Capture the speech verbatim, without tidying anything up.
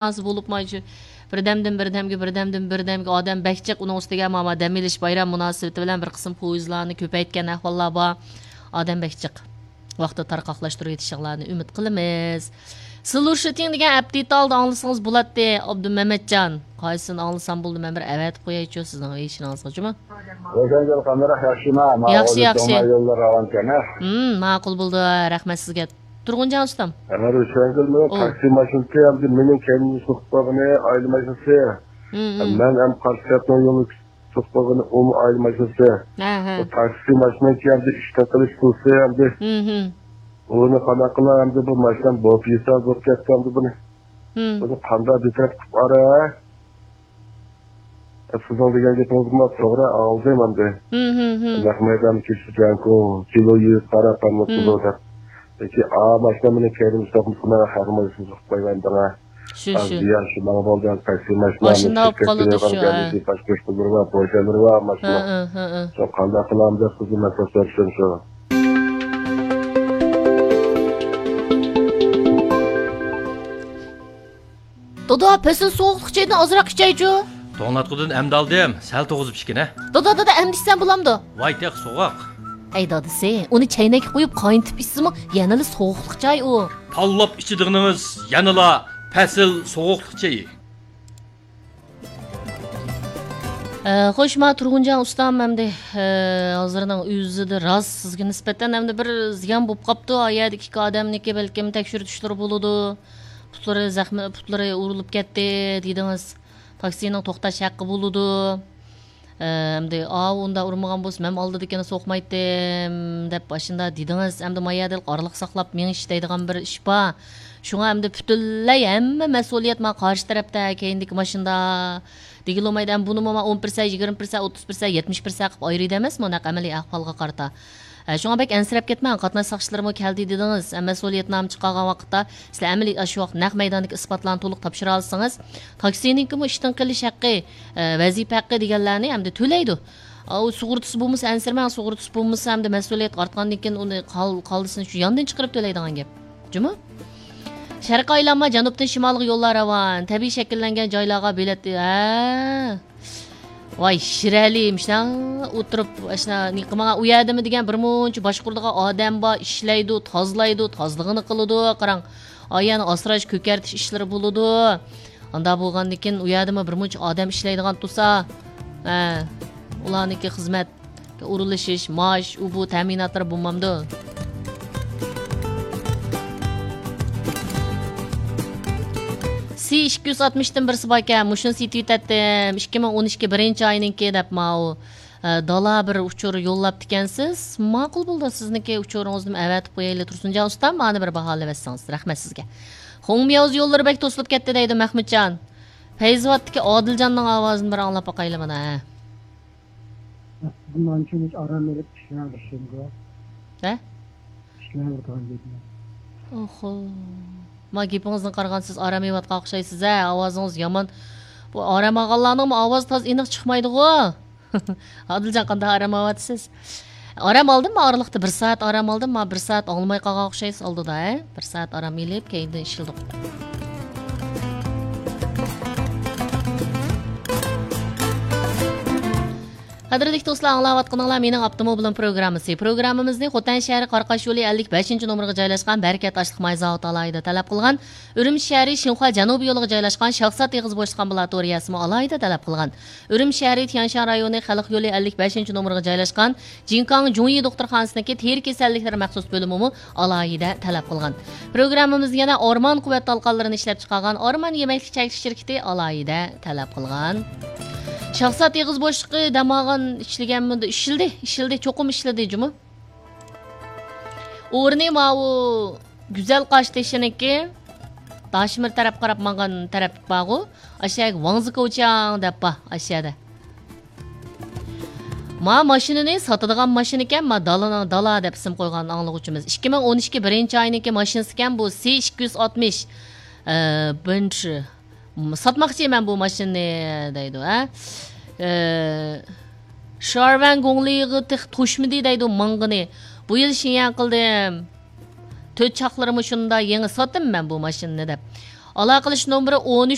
مۇناسىۋىتى بولۇپمۇ، شۇ بىردەمدىن بىردەمگە، بىردەمدىن بىردەمگە ئادەم بەك جىق. ئۇنىڭ ئۈستىگە مانا دەم ئېلىش بايرام مۇناسىۋىتى بىلەن بىر قىسىم پويىزلارنى كۆپەيتكەن ئەھۋاللار بار. ئادەم بەك جىق. ۋاقتىدا تارقاقلاشتۇرۇۋېتىشىڭلارنى ئۈمىد قىلىمىز. سلۇشىتىڭ دېگەن ئەپتىتالدا ئاڭلىسىڭىز بولاتتى، ئابدۇمەمەتجان. قايسىنى ئاڭلىسام بولدى، مەن بىر ئەۋەتىپ قويايچۇ سىزنىڭ ئېشىڭىزغا، جۇمۇ؟ روشەنگۈل قانداق، ياخشىما؟ ياخشى، ياخشى. يوللار راۋانكەن، ھە؟ ھىم، ماقۇل بولدى. رەھمەت سىزگە. تۇرغۇنجان ئۇستام. ئەمما روشەنگۈلمۇ، ئوي. تاكسى ماشىنىسى ئەمدى مېنىڭ كەينىمدە سوقۇپ قالغىنى ئائىلە ماشىنىسى. ھىم، ھىم. مەن ھەم قارشى تەرەپنىڭ يولىنى سوقۇپ قالغىنى ئۇمۇ ئائىلە ماشىنىسى. ھە، ھە. بۇ تاكسى ماشىنىسى ئەمدى ئىشتىن قېلىش قىلسا ئەمدى. ھىم، ھىم. ئۇنى قانداق قىلا ئەمدى، بۇ ماشىنا بوپيېسا بولۇپ كەتتى ئەمدى بۇنى. ھىم. بۇنى قانداق بىتەرەپ قىلىپ ئارا؟ سىزنىڭ دېگەن گېپىڭىزمۇ توغرا، ئالدىم ئەمدى. ھىم، ھىم، ھىم. نەق مەيدان كېلىشى جانكو، كىلو يۈز قاراپ ئەمدى، ھىم. قىلىدۇ دەپ. لېكىن ئا ماشىنا مېنى كەينىمدە سوقمىسا، مەن خەقنى ماشىنىسىنى سوقۇپ قويمايمەن دەڭە. شۇ، شۇ. زىيان شۇ ماڭا بولدى، تاكسى ماشىنا، ماشىنا ئاپ قالىدۇ شۇ، ھە. باشقا ئىشلىرى بار، پوشەللىرى بار ماشىنا. ھە، ھە، ھە، ھە. شۇ قانداق قىلامىز دەپ سىزدىن مەسلىھەت سورىشىم شۇ. دادا، پەسىل سوغۇقلۇق چايدىن ئازراق ئىچەيچۇ. توڭلاتقۇدىن ئەمدى ئالدىم، سەل توغۇزۇپ ئىچكىنە. دادا، دادا، ئەمدى ئىچسەم بولامدۇ؟ ۋاي تېخى سوغۇق. ئەي دادىسى، ئۇنى چەينەككە قۇيۇپ قاينىتىپ ئىچسىمۇ يەنىلا سوغۇقلۇق چاي ئۇ. تاللاپ ئىچىدىغىنىڭىز يەنىلا پەسىل سوغۇقلۇق چېيى. ئە، خوش، ما تۇرغۇنجان ئۇستام ئەمدى، ئە، ھازىرنىڭ ئۆزىدە راست سىزگە نىسبەتەن ئەمدى بىر زىيان بولۇپ قاپتۇ. ئا يەردىكى ئىككى ئادەمنىڭكى بەلكىم تەكشۈرتۈشلىرى بولىدۇ. پۇتلىرى زەخمە، پۇتلىرى ئۇرۇلۇپ كەتتى دېدىڭىز. تاكسىنىڭ توختاش ھەققى بولىدۇ. ئە، ئەمدى، ئاۋۇ ئۇنداق ئۇرمىغان بولسا، مەن ئالدىدىكىنى سوقمايتتىم، دەپ ئاشۇنداق دېدىڭىز. ئەمدى ما يەردە ئارىلىق ساقلاپ مېڭىش دەيدىغان بىر ئىش بار. شۇڭا ئەمدى پۈتۈنلەي ھەممە مەسئۇلىيەت ما قارشى تەرەپتە، كەينىدىكى ماشىنىدا دېگىلى بولمايدۇ. ئەمدى بۇنىمۇ ما ئون پىرسەنت، يىگىرمە پىرسەنت، ئوتتۇز پىرسەنت، يەتمىش پىرسەنت قىلىپ ئايرىيدۇ ئەمەسمۇ، نەق ئەمەلىي ئەھۋالغا قارىتا. ئە، شۇڭا بەك ئەنسىرەپ كەتمەڭ، قاتناش ساقچىلىرىمۇ كەلدى دېدىڭىز. ئە، مەسئۇلىيەتنامە چىقارغان ۋاقىتتا سىلەر ئەمەلىي ئاشۇ ۋاقىت نەق مەيداندىكى ئىسپاتلارنى تولۇق تاپشۇرالىسىڭىز، تاكسىنىڭكىمۇ ئىشتىن قېلىش ھەققى، ئە، ۋەزىپە ھەققى دېگەنلەرنى ئەمدى تۆلەيدۇ. ئاۋۇ سۇغۇرتىسى بولمىسا ئەنسىرىمەڭ، سۇغۇرتىسى بولمىسا ئەمدى مەسئۇلىيەتكە ئارتقاندىن كېيىن ئۇنى قال-، قالدىسىنى شۇ ياندىن چىقىرىپ تۆلەيدىغان گەپ. جۇمۇ؟ شەرقىي ئايلانما جەنۇبتىن شىمالغا يوللار راۋان. تەبىئىي شەكىللەنگەن جايلارغا بېلەت، ھە. ۋاي، شىرئەلى، مۇشۇنداق ئولتۇرۇپ، ئاشۇنداق نېمە قىلمىغان، ئۇ يەردىمۇ دېگەن بىر مۇنچە باشقۇرىدىغان ئادەم بار، ئىشلەيدۇ، تازىلايدۇ، تازىلىقىنى قىلىدۇ، قاراڭ. ئايەننى ئاسراش، كۆكەرتىش ئىشلىرى بولىدۇ. ئانداق بولغاندىن كېيىن ئۇ يەردىمۇ بىر مۇنچە ئادەم ئىشلەيدىغان تۇرسا، ھە، ئۇلارنىڭكى خىزمەت ئورۇنلىشىش، مائاش، ئۇ بۇ تەمىناتلىرى بولمامدۇ؟ سى ئىككى يۈز ئاتمىشتىن بىرسى باركەن، مۇشۇنى سېتىۋېتەتتىم، ئىككى مىڭ ئون ئىككى بىرىنچى ئاينىڭكى دەپ ماۋۇ، ئە، دالا بىر ئۇچۇر يوللاپتىكەنسىز. ماقۇل بولدى، سىزنىڭكى ئۇچۇرىڭىزنىمۇ ئەۋەتىپ قويايلى، تۇرسۇنجان ئۇستام، مانا بىر باھالىۋەتسىڭىز. رەھمەت سىزگە. خۇڭمياۋزا يوللىرى بەك توسۇلۇپ كەتتى دەيدۇ مەخمۇتجان. پەيزىۋاتتىكى ئادىلجاننىڭ ئاۋازىنى بىر ئاڭلاپ باقايلى مانا، ھە. بۇنىڭ ئۈچۈن ھېچ ئارام ئېلىپ ئىشلەۋاتىدىغان گەپمۇ. ھە؟ ئىشلەۋاتىدىغان گەپمۇ. ئوخو. ما گېپىڭىزدىن قارىغان سىز ئارام ئېلىۋاتقان ئوخشايسىز ھە، ئاۋازىڭىز يامان. بۇ ئارام ئالغانلارنىڭمۇ ئاۋازى تازا ئېنىق چىقمايدىغۇ. ئادىلجان، قانداق ئارام ئالىۋاتىسىز؟ ئارام ئالدىم، ما ئارىلىقتا بىر سائەت ئارام ئالدىم، ما بىر سائەت ئاڭلىماي قالغان ئوخشايسىز ئالدىدا، ھە؟ بىر سائەت ئارام ئېلىپ، كەينىدىن ئىشلىدۇق. قەدىرلىك دوستلار، ئاڭلاۋاتقىنىڭلار مېنىڭ ئاپتوموبىلىم پروگراممىسى. پروگراممىمىزنى خوتەن شەھىرى قاراقاش يولى ئەللىك بەشىنچى نومۇرغا جايلاشقان بەرىكەت ئاشلىق ماي زاۋۇتى ئالاھىدە تەلەپ قىلغان. ئۈرۈمچى شەھىرى شىنخۇا جەنۇبىي يولىغا جايلاشقان شاخسات ئېغىز بوشلۇق ئامبۇلاتورىيەسىمۇ ئالاھىدە تەلەپ قىلغان. ئۈرۈمچى شەھىرى تيەنشان رايونى خەلق يولى ئەللىك بەشىنچى نومۇرغا جايلاشقان جىنكاڭ جۇڭيى دوختۇرخانىسىنىڭكى تېرە كېسەللىكلىرى مەخسۇس بۆلۈمىمۇ ئالاھىدە تەلەپ قىلغان. پروگراممىمىزدا يەنە ئورمان قۇۋۋەت تالقانلىرىنى ئىشلەپچىقارغان ئورمان يېمەكلىك چەكلىك شىركىتى ئالاھىدە تەلەپ قىلغان. شاخسات ئېغىز بوشلۇقى دەم ئالغان ئىشلىگەنمىدى؟ ئىشلىدى، ئىشلىدى، چوقۇم ئىشلىدى جۇمۇ. ئورنى ماۋۇ گۈزەل قاشتېشىنىڭكى داشمىر تەرەپ قاراپ ماڭغان تەرەپ بارغۇ، ئاشۇ يەرگە ۋاڭزىكوچياڭ دەپ بار، ئاشۇ يەردە. ما ماشىنىنى ساتىدىغان ماشىنىكەن، ما دالىنىڭ دالا دەپ ئىسىم قويغان ئاڭلىغۇچىمىز. ئىككى مىڭ ئون ئىككى بىرىنچى ئاينىڭكى ماشىنىسىكەن بۇ، سى ئىككى يۈز ئاتمىش، ئە، بىنترى. م، ساتماقچىمەن بۇ ماشىنىنى دەيدۇ، ھە. ئە، شارۋەن گۇڭلىغا تېخى توشمىدى دەيدۇ ماڭغىنى. بۇ يىل شىيەن قىلدىم. تۆت چاقلىرىمۇ شۇندا يېڭى ساتتىم مەن بۇ ماشىنىنى دەپ. ئالاقىلىشىش نومۇرى ئون ئۈچ